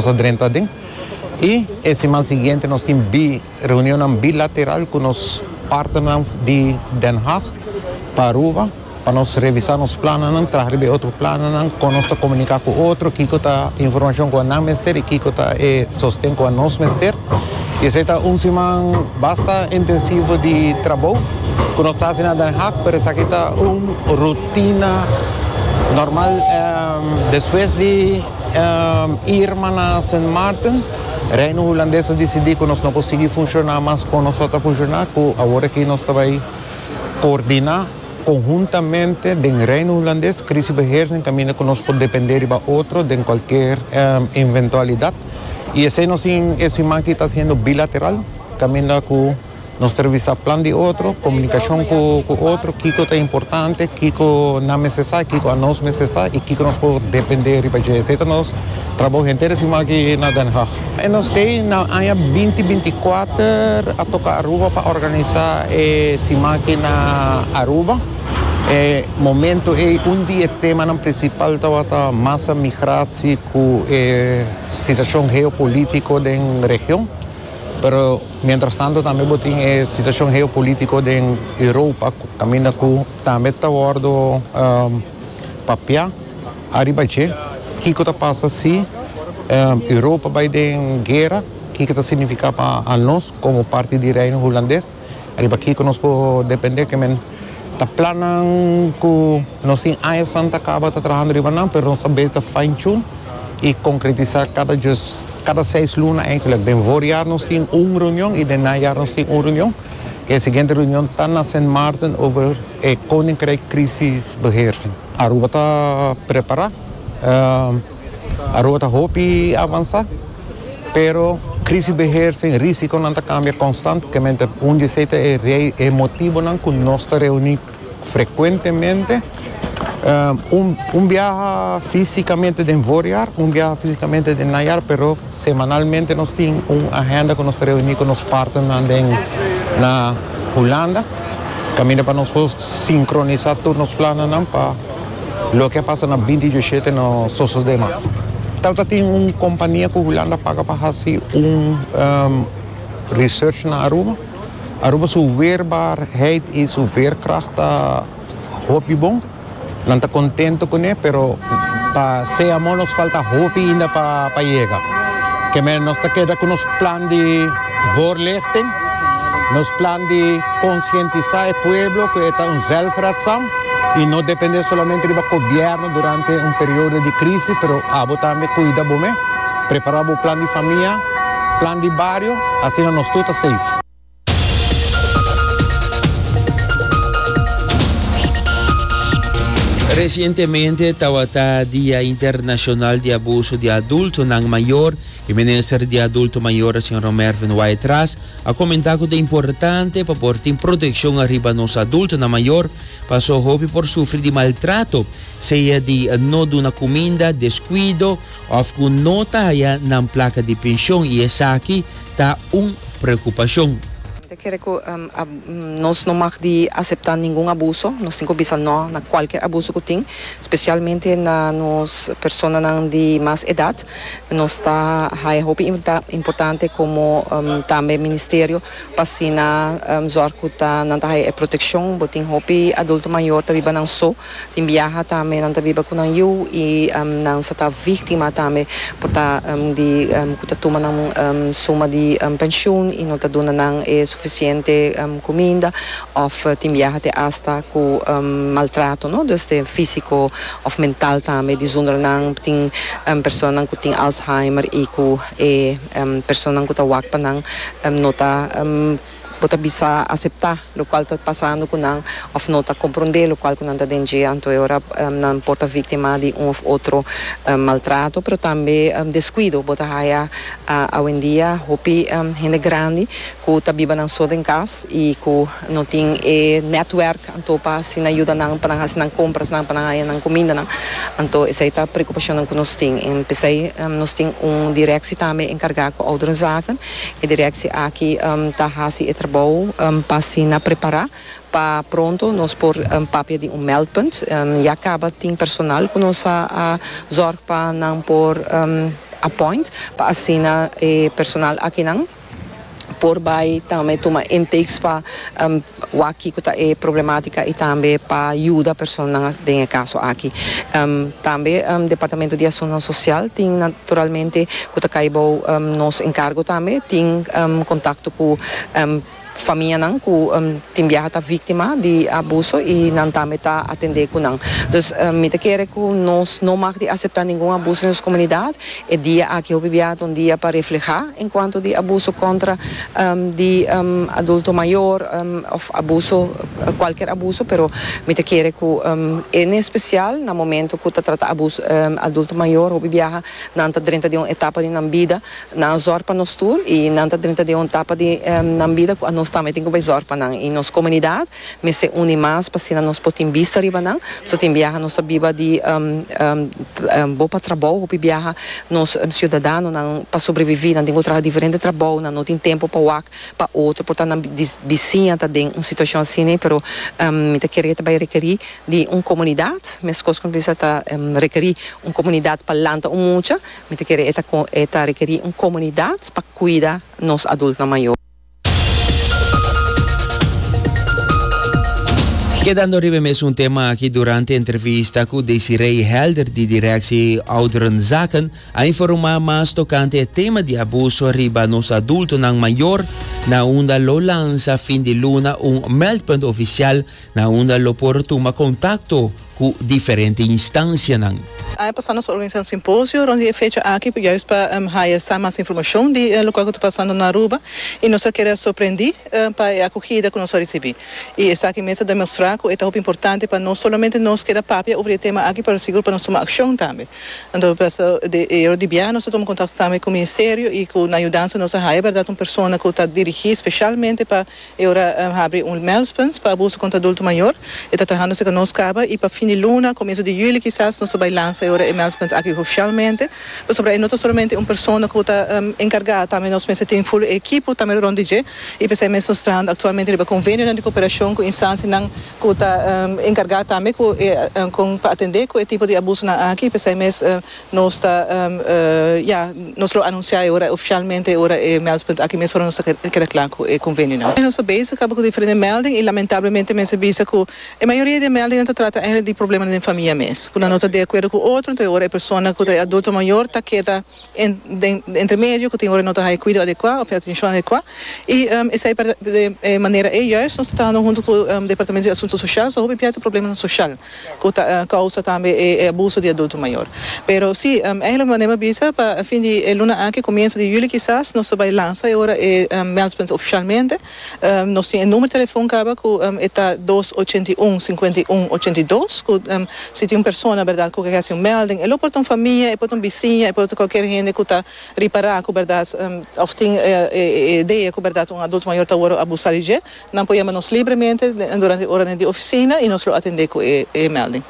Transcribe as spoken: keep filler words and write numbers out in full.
a drenta aden. I e siman siguiente nos tin bi, reunion bilateral ku nos partner di Den Haag pa Aruba, pa nos revisá nos plannan, traha otro plannan, ku nos komuniká ku otro, kiko ta informashon ku nan mester i kiko ta eh, sosten ku nos mester. I esei ta un siman basta intensivo di trabou ku nos ta hasiendo na Den Haag, pero esaki ta un rutina normal. Um, despues di um, Irma na Saint Martin, Reino Hulandes a disidí ku nos no por sigui funshoná mas kon nos ta funshoná, ku awor aki nos ta bai koordiná konhuntamente den Reino Hulandes, crisisbeheersing, kaminda ku nos por dependé di otro den kualke um, eventualidat. I esei nos tin e siman aki ta siendo bilateral, kaminda ku nos revisá plan di otro, komunikashon ku, ku otro, kiko ta importante, kiko nan mester, kiko nos mester i kiko nos por dependé riba dje. Esei ta nos trabou henter e siman aki na Den Haag. I nos tin na aña dos mil bintikuater a toka Aruba pa organisá e siman aki na Aruba. E momento ei un di e tema prinsipal tabata massa migratie ku e situashon geopolítiko den region. Pero mientras tanto tambe tin e situashon geopolítiko den Europa, kaminda ku tambe ta wordu um, papiá ariba dje. Kiko ta pasa si um, Europa bai den guera, kiko ta signifiká pa nos komo parti di Reino Hulandes. Ariba kiko nos por dependé, ke men ta plannan ku nos tin aña ta kaba ta trahando riba nan, pero nos tambe ta fine tune i konkretisá kada just kada seis luna eigenlijk. Den voorjaar nos tin un reunion i den najaar nos tin un reunion. E siguiente reunion ta na Saint Martin over e Koninkrijk crisisbeheersing. Aruba ta prepará. Uh, Aruba ta hopi avansá, pero crisisbeheersing, risikonan ta kambia konstantemente. Un di e e motivonan ku nos ta reuní frekuentemente. Um, un, un biaha físikamente den voorjaar, un biaha físikamente den najaar, pero semanalmente nos tin un agenda ku nos ta reuní ku nos partnernan na Hulanda, kaminda pa nos sinkronisá tur nos plannan pa loke pasa na dos mil diesshete no sosodé mas. Anto tin un kompania ku Hulanda a paga pa hasi un um, research na Aruba. Aruba su weerbaarheid i su veerkracht ta hopi bon. Nan ta kontentu kuné, pero pa sea nos falta hopi ainda pa pa yega. Ke men nos ta keda ku nos plan di voorlichting, nos plan di konsientisá e pueblo ku ta un zelfredzaam i no dependé solamente di gobièrnu durante un periodo di krísis, pero abo tambe kuida bo mes, prepará un plan di famia, plan di bario, asina nos tur ta safe. Resientemente tabata Dia Internashonal di Abuso di Adultonan Mayor i Minister di Adulto Mayor, señor Mervin Wyatt-Ras, a komentá ku ta importante pa por tin protekshon ariba nos adultonan mayor, paso hopi por sufri di maltrato, sea di no duna kuminda, deskuido òf ku no ta haya nan plaka di penshon, i esaki ta un preokupashon. Mi ta kere ku um, nos no mag di aseptá ningun abuso, nos tin ku bisa no na kualke abuso ku tin, spesialmente na nos personanan di mas edat. Nos ta haya hopi importante komo um, tambe ministerio pa asina um, zorg ku ta nan ta haya protekshon. Bo tin hopi adulto mayor ta biba nan so, tin biaha tambe nan ta biba ku nan yu i um, nan sa ta víktima tambe por ta um, di um, ku ta tuma nan um, suma di um, penshun i no ta duna nan e sufisiente um, kuminda òf uh, tin biaha te hasta ku um, maltrato, no? Dus di físiko òf mental tambe, di zonder nan tin um, personanan ku tin Alzheimer i ku e um, personanan ku ta wak pa nan um, no ta um, bo ta bisa aseptá lokual ta pasando ku nan òf no ta komprondé lokual ku nan ta den dje, anto ora um, nan por ta víktima di un òf otro um, maltrato, pero tambe um, deskuido. Bo ta haya uh, awendia hopi um, hende grandi ku ta biba nan so den kas i ku no tin e netwerk anto pa asina yuda nan pa nan hasi nan kompras nan pa nan haya nan kuminda nan. Anto esei ta preokupashon ku nos tin i p'esei um, nos tin un direktie tambe enkargá ku ouderenzaken. E direktie aki um, ta hasi e trabou um, pa asina prepará pa pronto nos por um, papia di un meldpunt. Um, ya kaba tin personal ku nos a, a zorg pa nan por um, appoint pa asina e personal akinan por bai tambe tuma intakes pa um, wak kiko ta e problematica y tambe pa yuda persona den e caso aki. Um, tambe um, Departamento di Asunto Social tin naturalmente cu ta cay bou um, nos encargo tambe, tin um, contacto cu um, famianan cu um, tin biaha ta victima di abuso y nan tambe ta atende cu nan. Dus um, mi ta kere cu nos no mag di acepta ningun abuso den nos comunidad. E dia aki hopi biaha un dia pa refleha en cuanto di abuso contra um, di um, adulto mayor um, of abuso, cualkier abuso, pero mi ta kere cu um, en especial na momento cu ta trata abuso um, adulto mayor, hopi biaha nan ta drenta den un etapa di nan bida, nan zorg pa nos tur y nan ta drenta den un etapa di um, nan bida cu nos tambe tin cu zorg pa nan y nos comunidad mester uni mas pa asina nos por tin bista riba nan. So tin biaha nos biba di um, um, um, bo pa trabou, hopi biaha nos um, ciudadanonan pa sobrevivi nan tin cu traha diferente trabou, nan no tin tempo pa wak pa otro, por ta nan bisiña ta den un situacion asina, pero um, mi ta kere tambe rekeri di un comunidad, mescos cu ta um, rekeri un comunidad pa lanta un mucha, mi ta kere e ta rekeri un comunidad pa cuida nos adulto mayor. Kedando riba mesun tema aki, durante entrevista cu Desiree Helder di Directie Ouderenzaken a informa mas tocante e tema di abuso riba nos adultonan mayor, na unda lo lansa fin di luna un meldpunt oficial na unda lo por tuma contacto cu diferente instancianan. Aña pasa nos a organisa un simposio rond e fecha aki, juist pa um, haya mas informacion di uh, loke ta pasando na Aruba y nos a keda sorprendi uh, pa e acogida cu nos a ricibi. Y esaki mes ta demostra cu ta importante pa no solamente nos keda papia over e tema aki, pero sigur pa nos tuma accion tambe. Anto, di, e di biaha nos a tuma contacto tambe cu e ministerio y cu e yudansa nos a haya berdad un persona cu ta dirigi specialmente pa e ora um, habri un meldpunt pa abuso contra adulto mayor. E ta trahando cu nos caba y pa fin di luna, comienso di juli kisas, nos ta bay lansa e ora e meldpunt aki oficialmente. Pasobra no ta solamente un persona cu ta um, encarga, tambe nos mester tin full ekipo tambe rond di dje. Y pesey mes nos ta trahando actualmente riba convenio di cooperacion cu instancianan cu ta um, encarga tambe cu um, cu pa atende cu e tipo di abusonan aki. Pesey mes uh, nos ta um, uh, ja, nos lo anuncia ora oficialmente ora e meldpunt aki mes ora nos keda cla cu e convenionan. Nos ta bezig cu diferente melding y lamentablemente mester bisa cu e mayoria di melding ta trata eigenlijk di problema den famia mes. Cu no ta di acuerdo cu otro, anto ora e persona cu ta adulto mayor ta keda en, den, entre medio, cu tin ora no ta cuido adecua of atencion adecua. Y um, esey pa e manera e juist, nos ta trahando hunto cu e um, Departamento di Asunto Social, so hopi problema social, cu ta uh, causa tambe e, e abuso di adulto mayor. Pero si, um, eigenlijk manera bisa pa fin di luna aki, comienso di juli kisas, nos ta bay lansa ora e um, meldpunt oficialmente. Um, nos tin e number di telefon caba cu um, ta dos ocho un cincuenta y un ochenta y dos, cu um, si tin un persona, berdad, cu kier haci un melding, e por ta un famia, e por ta un bisiña, e por ta cualkier hende cu ta ripara cu berdad um, of tin eh, eh, idea cu berdad un adulto mayor ta abusa di dje, nan por yama nos libremente durante ora di oficina y nos lo atende cu e, e melding.